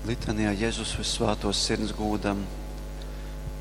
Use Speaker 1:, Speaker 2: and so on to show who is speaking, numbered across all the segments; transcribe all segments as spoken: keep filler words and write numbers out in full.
Speaker 1: Litanijā Jezus Vyssvātōs Sirds gūdam.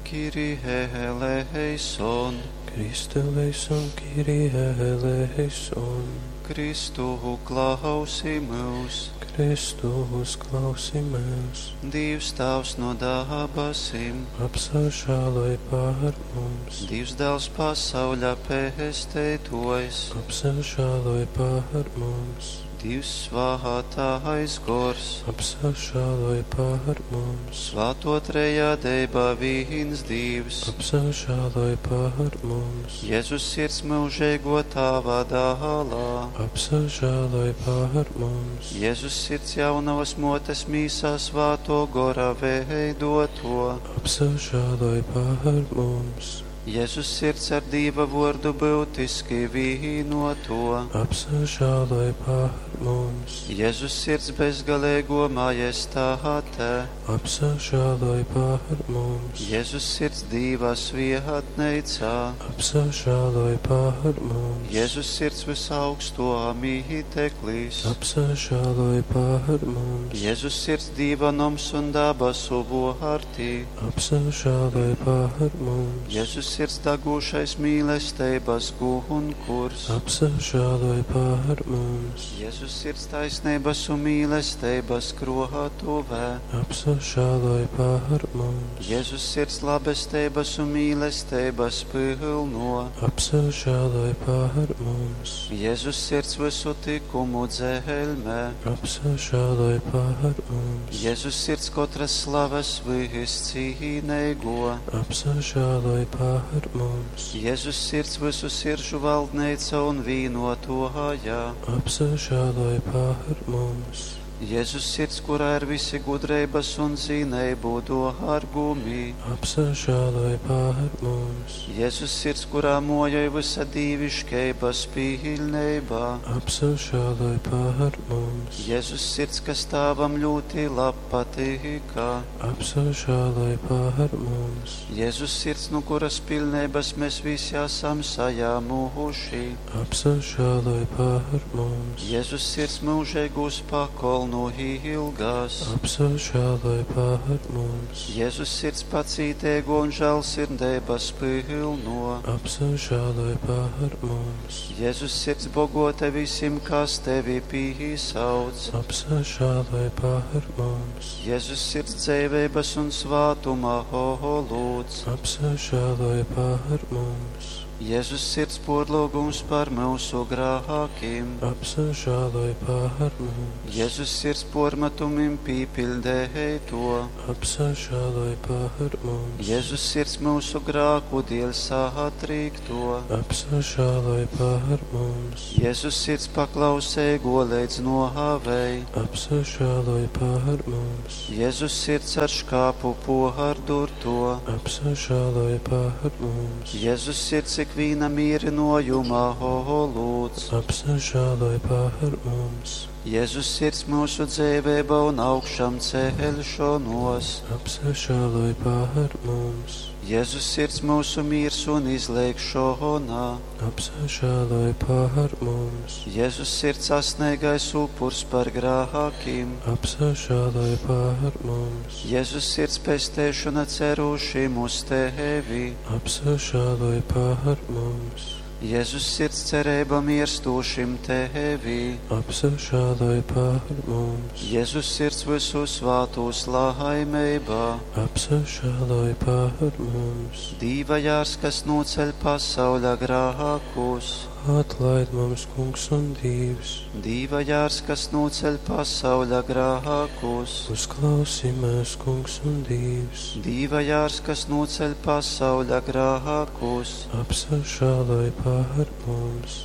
Speaker 1: Kyrie eleison.
Speaker 2: Christe eleison, Kyrie eleison.
Speaker 1: Kristu klausi myus.
Speaker 2: Kristu uzklausi myus.
Speaker 1: Dīvs Tāvs no dabasim.
Speaker 2: Apsažāloj pār mums.
Speaker 1: Dīvs Dāls pasauļa pesteitōjs.
Speaker 2: Apsažāloj pār mums.
Speaker 1: Dīvs Svātais Gors.
Speaker 2: Apsažāloj pār mums.
Speaker 1: Svāto trejadeiba vīns Dīvs.
Speaker 2: Apsažāloj pār mums.
Speaker 1: Jēzus sirds mūžīgo Tāva dālā.
Speaker 2: Apsažāloj pār mums.
Speaker 1: Jēzus sirds jaunavas motes mīsā svāto gora veidoto.
Speaker 2: Apsažāloj pār mums.
Speaker 1: Jēzus sirds ar Dīva vārdu būtiski vīnoto.
Speaker 2: Apsažāloj pār mums.
Speaker 1: Jēzus sirds bezgalīgo majestāte.
Speaker 2: Apsažāloj pār mums.
Speaker 1: Jēzus sirds Dīva svietneicā.
Speaker 2: Apsažāloj pār mums.
Speaker 1: Jēzus sirds visaugsto mīteklis.
Speaker 2: Apsažāloj pār mums.
Speaker 1: Jēzus sirds Dīva noms un dabasu vārtī.
Speaker 2: Apsažāloj pār mums.
Speaker 1: Jēzus sirds degūšais mīlestības gunkurs.
Speaker 2: Apsažāloj pār mums.
Speaker 1: Jēzus sirds taisnības un mīlestības krātuvē.
Speaker 2: Apsažāloj pār mums.
Speaker 1: Jēzus sirds labestības un mīlestības pilno.
Speaker 2: Apsažāloj pār mums.
Speaker 1: Jēzus sirds visu tikumu dzelmē.
Speaker 2: Apsažāloj pār mums.
Speaker 1: Jēzus sirds katras slavas viscīnīgo.
Speaker 2: Apsažāloj pār mums.
Speaker 1: Jēzus sirds visu siržu valdneica un vīnotoja.
Speaker 2: Apsažāloj pār mums.
Speaker 1: Jēzus sirds, kurā ir visi gudrības un zinību dārgumi.
Speaker 2: Apsažāloj pār mums.
Speaker 1: Jēzus sirds, kurā mojoj visa dīviškeibas pilnībā.
Speaker 2: Apsažāloj pār mums.
Speaker 1: Jēzus sirds, kas Tēvam ļoti lab patika.
Speaker 2: Apsažāloj pār mums.
Speaker 1: Jēzus sirds, no kuras pilnības mēs visi esam sajāmuši.
Speaker 2: Apsažāloj pār mums.
Speaker 1: Jēzus sirds mūžīgūs pakolnu ilgās.
Speaker 2: Apsažāloj pār mums.
Speaker 1: Jēzus sirds pacītēgo un žēlsirdības pilno.
Speaker 2: Apsažāloj pār mums.
Speaker 1: Jēzus sirds bogota visiem, kas tevi pīsauc.
Speaker 2: Apsažāloj pār mums.
Speaker 1: Jēzus sirds dzīvības un svātuma holūds.
Speaker 2: Apsažāloj pār mums.
Speaker 1: Jēzus sirds porlūgums par mūsu grākiem.
Speaker 2: Apsažāloj pār mums.
Speaker 1: Jēzus sirds pormetumim pīpildēja to.
Speaker 2: Apsažāloj pār mums.
Speaker 1: Jēzus sirds mūsu grāku dēļ satrīkto.
Speaker 2: Apsažāloj pār mums.
Speaker 1: Jēzus sirds paklausēgo līdz nohavei.
Speaker 2: Apsažāloj pār mums.
Speaker 1: Jēzus sirds ar škāpu pohardurto.
Speaker 2: Apsažāloj pār mums.
Speaker 1: Jēzus sirds ikvīna mīrinojuma holūds.
Speaker 2: Apsažāloj pār mums.
Speaker 1: Jēzus sirds mūsu dzīvība un augšām celšanos.
Speaker 2: Apsažāloj pār mums.
Speaker 1: Jēzus sirds mūsu miers un izlēkšana.
Speaker 2: Apsažāloj pār mums.
Speaker 1: Jēzus sirds asnīgais upurs par grākiem.
Speaker 2: Apsažāloj pār mums.
Speaker 1: Jēzus sirds pestēšana cerušiem uz tevi.
Speaker 2: Apsažāloj pār mums.
Speaker 1: Jēzus sirds cerība mirstošim tevi.
Speaker 2: Apsažāloj pār mums.
Speaker 1: Jēzus sirds visu svātos laimībā.
Speaker 2: Apsažāloj pār mums.
Speaker 1: Dīva jārs, kas noceļ pasauļa grākus.
Speaker 2: Atlaid mums, Kungs un Dievs.
Speaker 1: Dīva jārs, kas noceļ pasauļa grākus.
Speaker 2: Uzklausi mēs, Kungs un Dievs.
Speaker 1: Dīva jārs, kas noceļ pasauļa grākus.
Speaker 2: Apsažāloj pār mums.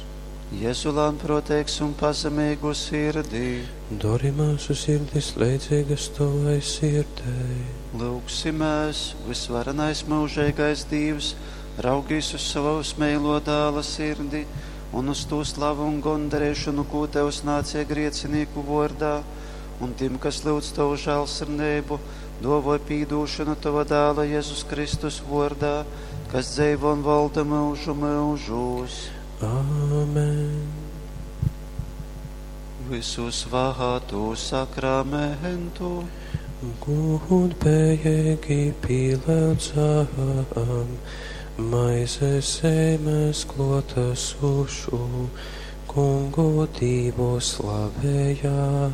Speaker 1: Jēzu lēnprātīgs un pazemīgu sirdī.
Speaker 2: Dori mūsu sirdis leidzīgas tavai sirdei.
Speaker 1: Lūgsimies, visvarenais mūžīgais Dievs, raugīs uz savu smēlo dāla sirdi un uz to slavu un gondarēšanu, ko tev nācie griecinīku vārdā, un tiem, kas lūdz tavu žēlsirdību, dovoj pīdūšanu tava dēla Jēzus Kristus vārdā, kas dzīvo un valda mūžu mūžos.
Speaker 2: Āmen.
Speaker 1: Visu svātu sakramentu.
Speaker 2: Gūdbejeigi pīlyudzam, maizes zeimes kluotasūšū, Kungu Dīvu slavejam.